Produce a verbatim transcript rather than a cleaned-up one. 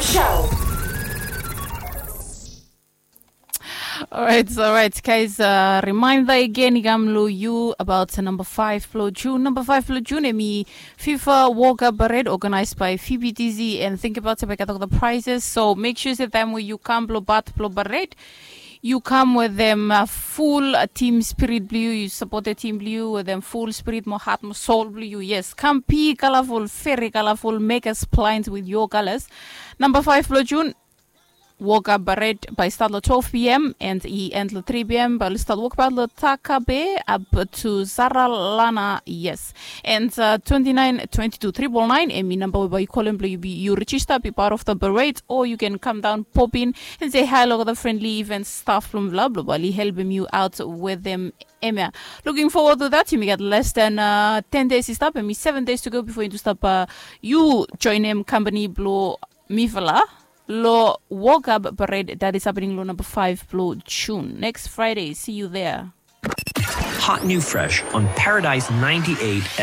Show. Alright, alright, guys. Uh, reminder again, i kam lo yu about number five blo June. Number five blo June, em i FIFA Walk Up Parade, organized by F B T Z, and think about it, we got all the prizes. So make sure that time when you come blo bat blo parade, you come with them uh, full uh, team spirit blue. You support the team blue with them full spirit, mo heart, mo soul blue. Yes, come be colorful, very colorful, make us blind with your colors. Number five blo June, Walk Up Parade by start lo twelve p.m. and i end lo three p.m. By start walk about lo Takabe up to Zaralana. Yes, and uh, twenty-nine twenty-two triple nine, em i number by you call him, you be you register, be part of the parade, or you can come down, pop in, and say hi lo the friendly event staff from Vla blo bali help him you out with them. Emia, looking forward to that. You got less than uh, ten days to stop, and me seven days to go before you to stop. Uh, you join him company blo Mifala lo Walk Up Parade that is happening lo number five blo June, next Friday. See you there. Hot new fresh on Paradise ninety-eight